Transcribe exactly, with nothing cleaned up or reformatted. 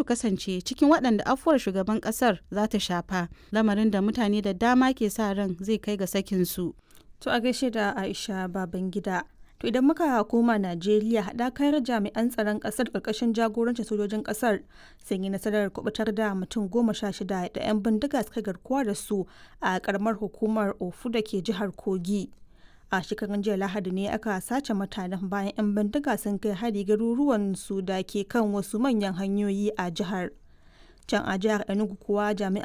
su kasance cikin waɗanda afuwar shugaban ƙasar za ta shafa, lamarin da mutane da dama ke sa ran zai kai ga sakinsu. To a gaishe da Aisha Babangida. To idan muka koma Najeriya, haɗakar jami'an tsaron ƙasar ƙarƙashin jagorancin sojojin ƙasar sun yi nasarar kubutar da mutum goma sha shida da 'yan bindiga suka garkuwa da su a ƙaramar hukumar Ofu da ke jihar Kogi. A shekarun jiya Lahadi ne aka sace mutanen bayan 'yan bindiga sun kai hari garuruwan su da ke kan wasu manyan hanyoyi a jihar. Can a jihar Enugu kuwa, jami'an